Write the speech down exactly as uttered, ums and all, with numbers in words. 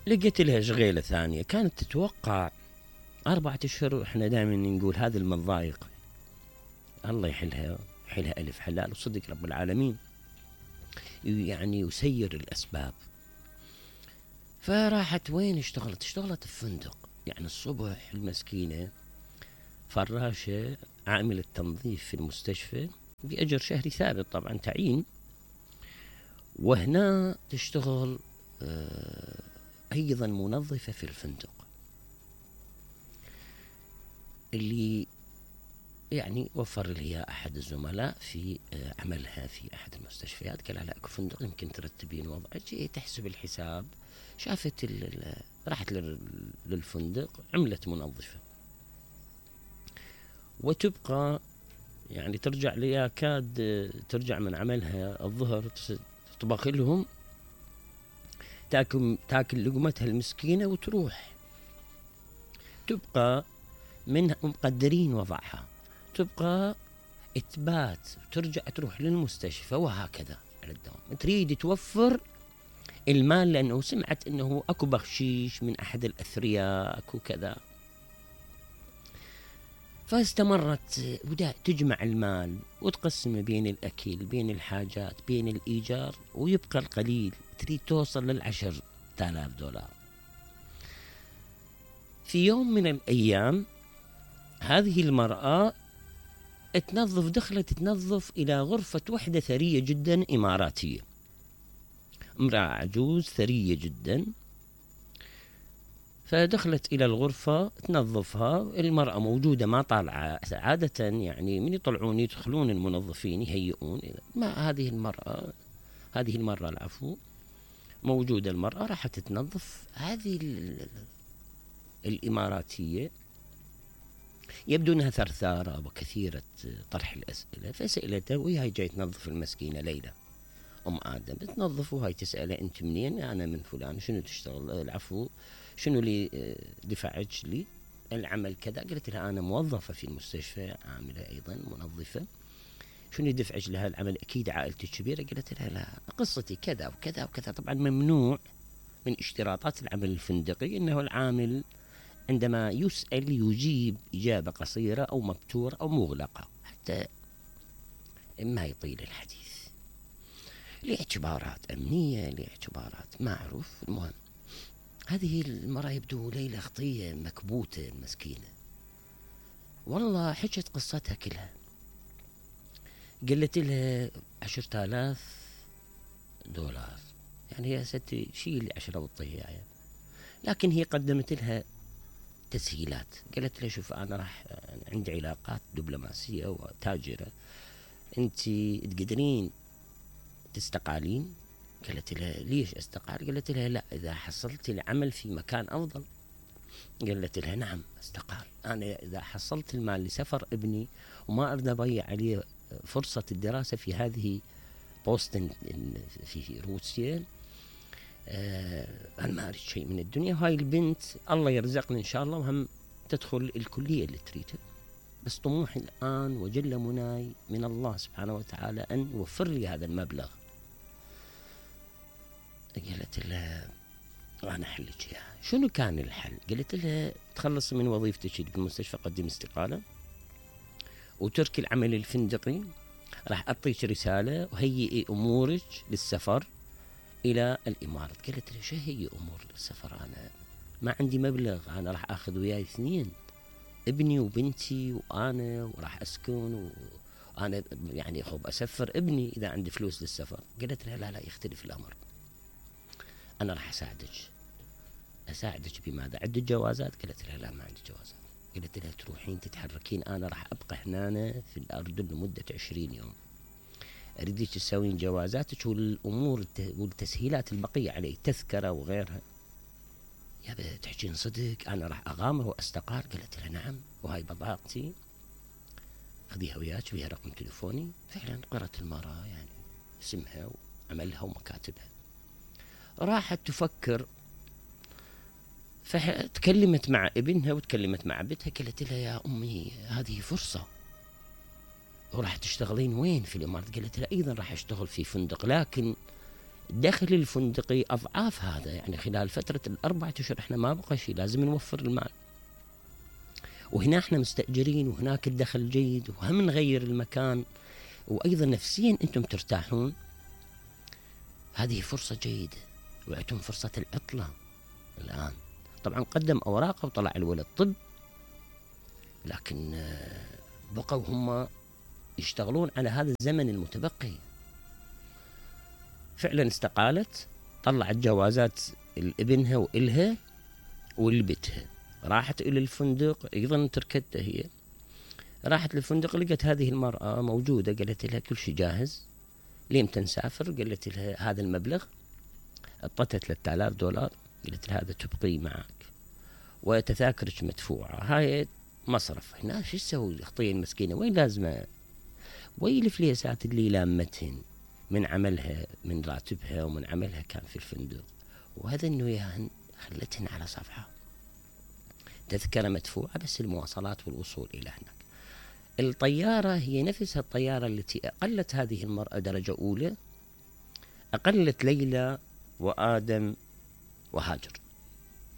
لقيت لها شغيلة ثانية كانت تتوقع أربعة أشهر. وإحنا دائما نقول هذه المضايق الله يحلها يحلها ألف حلال، وصدق رب العالمين يعني يسير الأسباب. فراحت وين اشتغلت؟ اشتغلت في فندق. يعني الصبح المسكينة فراشة عاملة تنظيف في المستشفى بأجر شهري ثابت طبعا تعيين، وهنا تشتغل آه أيضا منظفة في الفندق. اللي يعني وفر لي أحد الزملاء في آه عملها في أحد المستشفيات، قال لها أكو فندق يمكن ترتبين وضعك. تحسب الحساب، شافت راحت للفندق عملت منظفة، وتبقى يعني ترجع لي كاد ترجع من عملها الظهر تطبخ لهم، تاكل تاكل لقمتها المسكينة وتروح. تبقى من مقدرين وضعها، تبقى إثبات وترجع تروح للمستشفى، وهكذا على الدوام. تريد توفر المال لأنه سمعت أنه أكو بخشيش من أحد الأثرياء أكو كذا. فاستمرت ودا تجمع المال وتقسمه بين الأكل بين الحاجات بين الإيجار، ويبقى القليل. تريد توصل للعشر تالاف دولار. في يوم من الأيام هذه المرأة تنظف، دخلت تنظف إلى غرفة وحدة ثرية جدا إماراتية، امرأة عجوز ثرية جدا. فدخلت إلى الغرفة تنظفها، المرأة موجودة ما طالعة عادة، يعني من يطلعون يدخلون المنظفين يهيئون. ما هذه المرأة هذه المرة العفو موجودة، المرأة راحت تنظف. هذه الإماراتية يبدو أنها ثرثارة وكثيرة طرح الأسئلة، فسألتها وهي جاي تنظف المسكينة ليلى أم آدم تنظف، وهي تسأله أنت منين؟ أنا من فلان. شنو تشتغل؟ العفو شنو اللي دفعك لي العمل كذا؟ قلت لها أنا موظفة في المستشفى عاملة أيضا منظفة. شنو دفعك لها العمل؟ أكيد عائلتي كبيرة. قلت لها لا، قصتي كذا وكذا وكذا. طبعا ممنوع من اشتراطات العمل الفندقي أنه العامل عندما يسأل يجيب إجابة قصيرة أو مبتورة أو مغلقة حتى ما يطيل الحديث، لاعتبارات أمنية لاعتبارات معروف. المهم هذه المرأة يبدو ليلة خطية مكبوتة المسكينة، والله حكت قصتها كلها. قلت لها عشرة آلاف دولار، يعني يا ستي شيل عشرة وطيها يعني. لكن هي قدمت لها تسهيلات. قالت لها شوف أنا راح عندي علاقات دبلوماسية وتاجرة، أنت تقدرين تستقالين؟ قالت لها ليش استقال؟ قالت لها لا، إذا حصلت العمل في مكان أفضل. قالت لها نعم استقال. أنا إذا حصلت المال لسفر ابني وما أريد أضيع عليه فرصة الدراسة في هذه بوسطن في روسيا، آه أنا ما أريد شيء من الدنيا. وهاي البنت الله يرزقني إن شاء الله وهم تدخل الكلية اللي تريدها، بس طموحي الآن وجل مناي من الله سبحانه وتعالى أن يوفر لي هذا المبلغ. قالت لها أنا أحلك إياها. شنو كان الحل؟ قالت لها تخلص من وظيفتك بالمستشفى، قدم استقالة وتركي العمل الفندقي، راح أعطيك رسالة وهيئي أمورك للسفر إلى الإمارات. قالت لها شو هي أمور للسفر؟ أنا ما عندي مبلغ، أنا راح أخذ وياي اثنين، ابني وبنتي وأنا، وراح أسكن وأنا يعني خب أسفر ابني إذا عندي فلوس للسفر. قالت لها لا لا يختلف الأمر، أنا راح أساعدك. أساعدك بماذا؟ عندك جوازات؟ قالت لها لا ما عندي جوازات. قالت لها تروحين تتحركين، أنا راح أبقى هنا في الأردن لمدة عشرين يوم، أريدك تسوين جوازاتك والأمور والتسهيلات البقية علي، تذكرة وغيرها. يا تحكين صدق أنا راح أغامر وأستقال؟ قالت لها نعم، وهاي بضاعتي خذيها وياك، فيها رقم تليفوني. فعلا قرأت المرأة يعني اسمها وعملها ومكاتبها، راحت تفكر. فتكلمت مع ابنها وتكلمت مع بنتها، قالت لها يا أمي هذه فرصة، وراح تشتغلين وين في الإمارات؟ قالت لها أيضا راح أشتغل في فندق، لكن الدخل الفندقي أضعاف هذا، يعني خلال فترة الأربعة أشهر إحنا ما بقى شيء، لازم نوفر المال. وهنا إحنا مستأجرين وهناك الدخل جيد، وهم نغير المكان، وأيضا نفسيا أنتم ترتاحون. هذه فرصة جيدة، وعندهم فرصة العطلة الآن. طبعا قدم أوراقه وطلع الولد طب، لكن بقوا هم يشتغلون على هذا الزمن المتبقي. فعلا استقالت، طلعت جوازات لابنها وإلها ولبتها، راحت إلى الفندق، أيضا تركتها هي، راحت للفندق لقت هذه المرأة موجودة، قالت لها كل شيء جاهز، ليمتى نسافر؟ قالت لها هذا المبلغ، أعطتها ثلاثة آلاف دولار، قالت لها هذا تبقي معك وتذاكرك مدفوعة، هاي مصرف. هنا شو تسوي الخطية المسكينة؟ وين لازمة؟ وين الفليسات اللي لامتهن من عملها، من راتبها ومن عملها كان في الفندق، وهذا انه ياهن خلتهن على صفحة، تذكرة مدفوعة بس المواصلات والوصول إلى هناك. الطيارة هي نفسها الطيارة التي أقلت هذه المرأة درجة أولى، أقلت ليلى وآدم وهاجر.